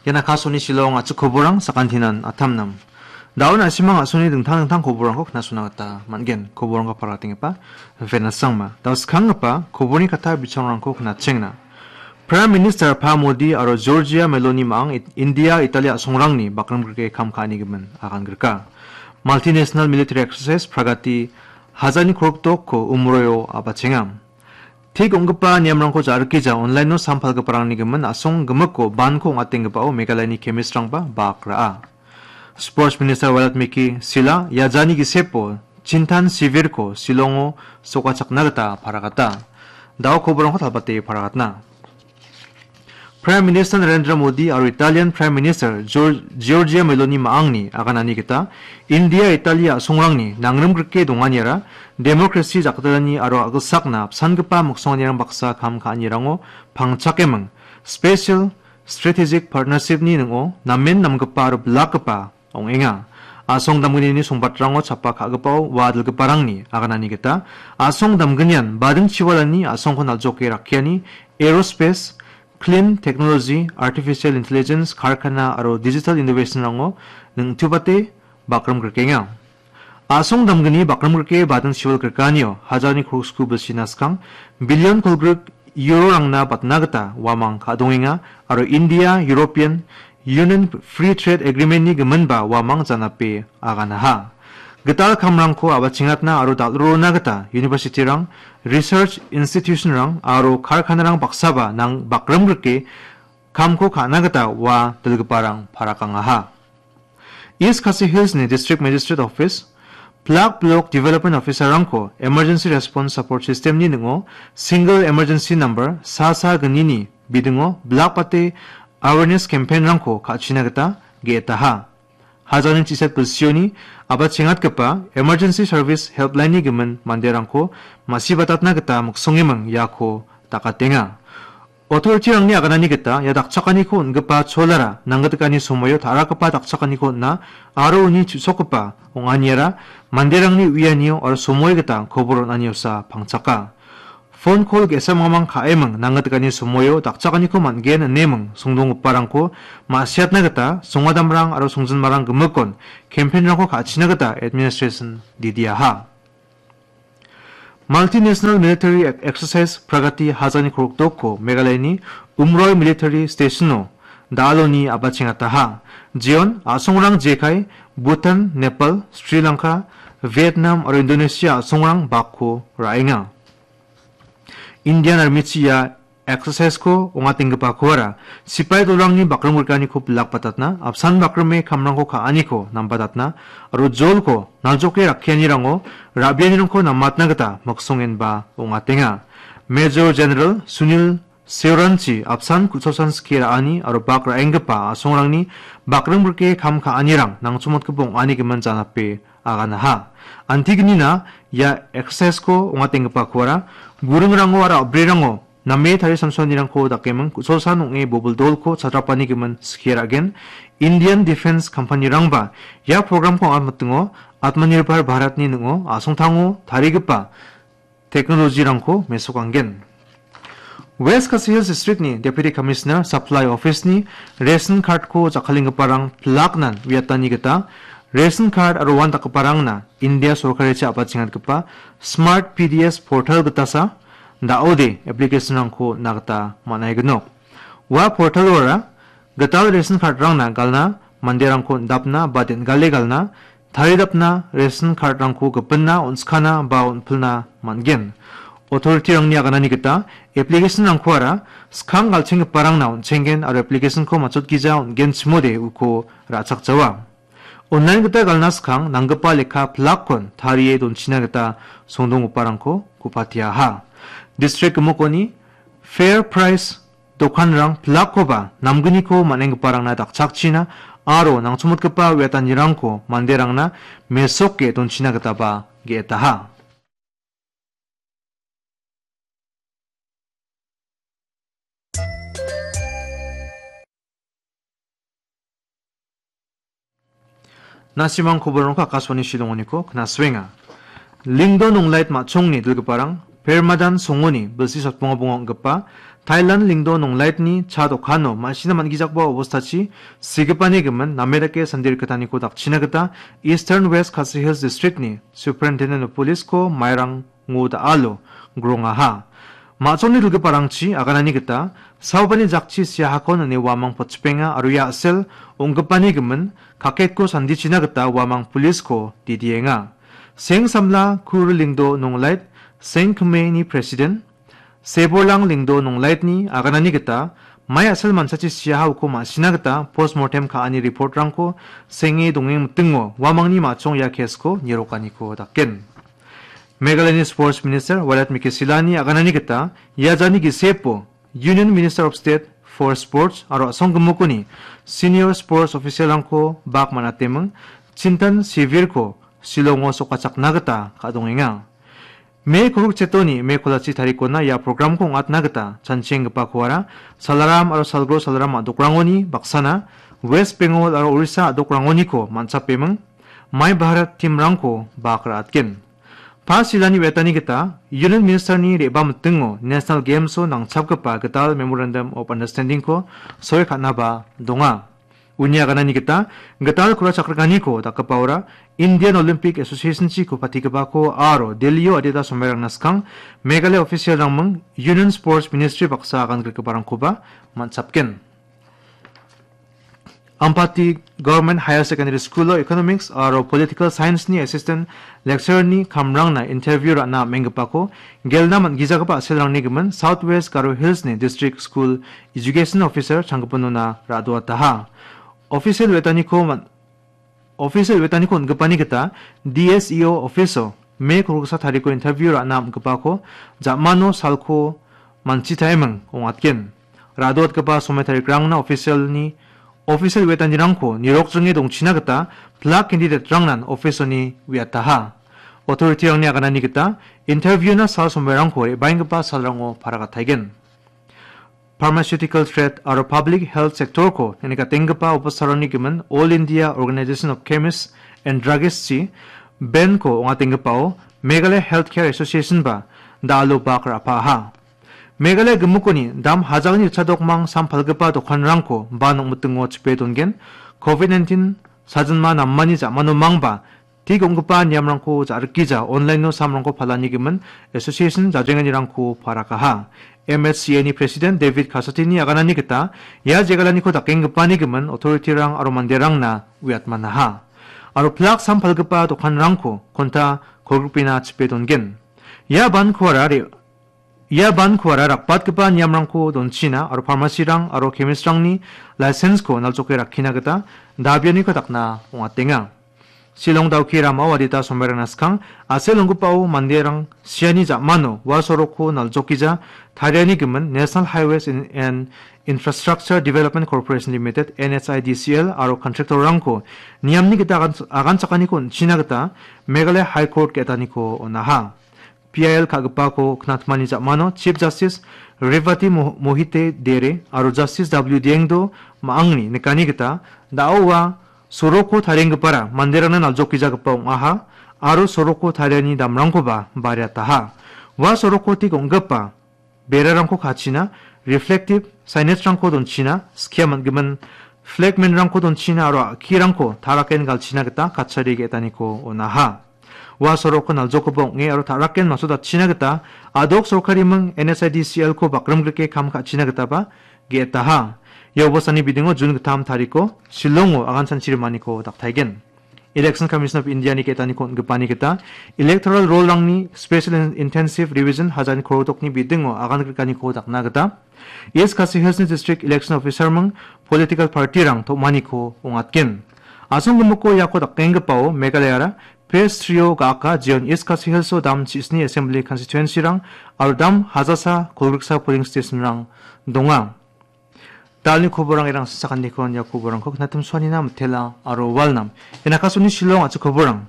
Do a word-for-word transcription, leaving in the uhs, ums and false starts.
Ian Akashvani Shillong a·chik koborang sakantinan atamnam. Daun a·simang a·songni dingtang dingtang koborangko knasona gita man·gen. Koborangko paratenggipa Venus Sangma. Dao skanggipa koborni kata bichangrangko knatchengna. Prime Minister Pa Modi aro Giorgia Meloni ma·ang It-, India, Italia a·songrangni bakrimgrike kam ka·anigimin agangrika. Multinational Military Exercise Pragati hajani korokdokko umroio a·bachenga. Tik ong·gipa niamrangko ja·rikija online-o sam palgiparangni gimin a·song gimikko banko ong·atenggipao Meghalayani chemist-rangba bak ra·a. Sports Minister Walatmiki Sila iajani gisepo Chintan Sivirko Shillongo sokachakna gita paragata. Dao koborangko talbate paragatna. Prime Minister Narendra Modi aro Italian Prime Minister Gior-, Giorgia Meloni ma·angni aganani gita India, Italia a·songrangni nangrimgrike donganiara demokrasi jakdalani aro a·gilsakna apsangipa miksonganirang baksa kam ka·anirango pangchakeming Special Strategic Partnership-ni ning·o namen namgipa aro bilakgipa ong·enga. A·song damgnini songbatrango chapa ka·gipao ua dilgiparangni aganani gita a·song damgnian bading chiwalani a·songko naljoke rakkiani aerospace, clean technology, artificial intelligence, karkana aro digital innovation-rango ning·tubate bakrimgrikenga. A·song damgni bakrimgrike bading chiwal grikanio hajarni korok sku bilsina skang billion kolgrik euro-rangna batna gita uamang ka·dongenga aro India, European Union Free Trade Agreement-ni giminba uamang janape aganaha. Gital kamrangko a·bachengatna aro dal·rona gita university-rang, research institution-rang aro karkanarang baksaba nang bakrimgrike kamko ka·na gita ua dilgiparang parakangaha. East Khasi Hills-ni District Magistrate Office, Block Block Development Officer-rangko Emergency Response Support System-ni ning·o Single Emergency Number sa sa gnini bidingo bilakbate awareness campaign-rangko ka·china gita ge·etaha. Hajalni chiset bilsioni a·bachengatgipa Emergency Service Helpline-ni gimin manderangko masibatatna gita miksongeming iako dakatenga. Authority-rangni aganani gita ia dakchakaniko on·gipa cholara nanggitikani somoio ta·rakgipa dakchakaniko on·a aro uni chu·sokgipa ong·aniara manderangni uianio aro somoi gita kobor on·aniosa pangchaka. Phone call ge·sa mamang ka·eming nanggitikani somoio dakchakaniko man·gen ineming songdonggiparangko ma·siatna gita songadamrang aro songjinmarang gimikon campaign-rangko ka·china gita administration didiaha. Multinational Military Ex-, Exercise Pragati hajani korokdokko Meghalayani Umroi Military Station-o da·aloni a·bachengataha. Jeon a·songrang jekai Bhutan, Nepal, Sri Lanka, Vietnam aro Indonesia a·songrang bakko ra·enga. Indian Army-chi ia exercise-ko ong·atenggipakoara sipai dolrangni bakrimgrikaniko bilakbatatna, apsan bakrime kamrangko ka·aniko nambatatna aro jolko naljoke rakkianirango ra·bianirangko namatna gita miksongenba ong·atenga. Major General Sunil Seoranchi apsan ku·chosan skie ra·ani aro bak ra·enggipa a·songrangni bakrimgrike kam ka·anirang nangchomotgipa ong·ani gimin janape aganaha. Antignina ia exercise-ko ong·atenggipakoara buringrango aro a·brirango name tarisamsoanirangko dakeming ku·cholsan ong·e bobil dolko chatrapani gimin skie ra·gen. Indian Defence Company-rangba ia program-ko ong·atmitingo Atmanirbhar Bharat-ni ning·o a·songtango tarigipa technology-rangko mesokanggen. West Khasi Hills District-ni Deputy Commissioner Supply Office-ni ration card-ko jakkalenggiparang pilaknan uiatani gita ration card aro uan dakgiparangna India sorkarichi a·bachengatgipa Smart P D S portal gitasa da·ode application-rangko on·na gita man·aignok. Ua portal-ora gital ration card-rangna galna, manderangko on·dapna ba den·gale galna, taridapna ration card-rangko gipinna, on·skana ba on·pilna man·gen. Authority-rangni aganani gita application-rangkoara skang galchenggiparangna on·chenggen aro application-ko matchotgija on·genchimode uko ra·chakjawa. Online gita galna skang nanggipa lekka pilakkon tarie donchina gita songdonggiparangko ku·patiaha. District gimikoni Fair Price dokanrang pilakkoba namgniko man·enggiparangna dakchakchina aro nangchomotgipa uiatanirangko manderangna mesoke donchina gitaba ge·etaha. Na·simang koborongko Akashvani Shillongoniko knaswenga. Lingdon Onglait ma·chongni dilgiparang Permadan Songoni bilsi sotbonga bonga ong·gipa Thailand Lingdo Nonglaitni cha dokano ma·sina man·gijakba obostachi sigipani gimin name dake sandi rikgitaniko dakchina gita Eastern West Khasi Hills District-ni Superintendent of Police-ko mairang ngo da·alo grongaha. Ma·songni dilgiparangchi aganani gita saobani jakchi siahakon ine uamang potchipenga aro ia a·sel ong·gipani gimin kaketko sandichina gita uamang police-ko didienga. Seng samla Kur Lingdo Nonglait, Seng Kmeni president, Seborlang Lingdo Nonglaitni aganani gita mai a·sel manchachi siaha uko ma·sina gita postmortem ka·ani report-rangko senge dongeng mitingo uamangni ma·chong ia case-ko nirokaniko daken. Meghalayani Sports Minister Wailadmiki Shyllani aganani gita ia jani gisepo Union Minister of State for Sports aro a·songgimukoni senior sports official-rangko bak man·ateming Chintan Shivirko Shillongo sokachakna gita ka·dongenga. Me kolgrik chetoni me kolachi tarikona ia program-ko ong·atna gita chanchienggipakoara Salaram aro Salgro Salaram a·dokrangoni baksana West Bengal aro Orissa a·dokrangoniko man·chapeming Mai Bharat team-rangko bak ra·atgen. Pas Shyllani uiatani gita Union Minister-ni re·baa mitingo National Games-o nangchapgipa gital Memorandum of Understanding-ko soi ka·naba donga. Uni aganani gita gital kura chakrikaniko dakgipaora Indian Olympic Association-chiko patigipako aro Delhi-o adita somairangna skang Meghalaya official-rangming Union Sports Ministry baksa agan gritgiparangkoba man·chapgen. Ampati Government Higher Secondary School-o Economics aro Political Science-ni Assistant Lecturer-ni kamrangna interview ra·na am·enggipako gelna man·gijagipa a·selrangni gimin South West Garo Hills-ni District School Education Officer changgipinona ra·doataha. Official wetaniko man-, official wetaniko on·gipani gita D S E O office-o Me kolgriksa tariko interview ra·na am·gipako jamano salko manchitaeming ong·atgen. Ra·doatgipa somoi tarikrangna official-ni, official wetanirangko nirokjringe dongchina gita plak candidate-rangnan office-oni uiataha. Authority-rangni aganani gita interview-na sal somoirangko re·baenggipa salrango paragataigen. Pharmaceutical trade aro public health sector-ko neng·nikatenggipa opisarangni gimin All India Organization of Chemists and Druggists-chi ben-ko ong·atenggipao Meghalaya Healthcare Association-ba da·alo bak ra·paha. Meghalaya gimikoni dam hajagni ritchadokmang sam palgipa dokanrangko ba nokmitingo chipe dongen, covid nineteen sajinma namani ja·mano mangba Tik ong·gipa niamrangko ja·rikgija online-o samrangko palani gimin association jajenganirangko parakaha. M H C A-ni President David Kasatini aganani gita ia jegalaniko dakenggipani gimin authority-rang aro manderangna uiatmanaha. Aro plak sam palgipa dokanrangko konta kolgrikpena chipe dongen. Ia bankoara re-, Ia bankoara rakbatgipa niamrangko donchina aro pharmacy-rang aro chemist-rangni license-ko naljoke rakkina gita dabianiko dakna ong·atenga. Shillong Dawki ramao adita somairangna skang a·sel onggipao manderang siani ja·mano ua sorokko naljokgija tariani gimin National Highways in-, and Infrastructure Development Corporation Limited, N H I D C L, aro contractor-rangko niamni gita agan-, aganchakaniko on·china gita Meghalaya High Court ge·etaniko on·aha. P I L ka·gipako knatmani ja·mano Chief Justice Revati Mo-, Mohite Dere aro Justice W Diengdo Ma·angni nikani gita, da·o ua sorokko tarienggipara manderangna naljokgijagipa ong·aha aro sorokko tariani damrangkoba bariataha. Ua sorokko tik ong·gipa berarangko kachina, reflective signage-rangko donchina, skia man·gimin flagman-rangko donchina aro a·kirangko taraken galchina gita kachari ge·etaniko on·aha. Ua sorokko naljokgipa ong·e aro taraken masodatchina gita a·dok sorkariming N H I D C L-ko bakrimgrike kam ka·china gitaba ge·etaha. Ia obostani bidingo Jun gittam tariko Shillongo agan chanchi rimaniko daktaigen. Election Commission of India-ni ge·etaniko on·gipani gita electoral roll-rangni special in-, intensive revision hajan korodokni bidingo agan grikaniko dakna gita East Khasi Hills-ni District Election Officer-ming political party-rang tom·aniko ong·atgen. Asonggimiko iako dakenggipao Meghalayara Phase three-o ga·aka jeon East Khasi Hills-o dam chisni Assembly Constituency-rang aro dam hajasa kolgriksa polling station-rang donga. Dalni koborang erang sakantikon ia koborangko knatim suanina mitela aro walnam. Enakasoni Shillong a·chik koborang.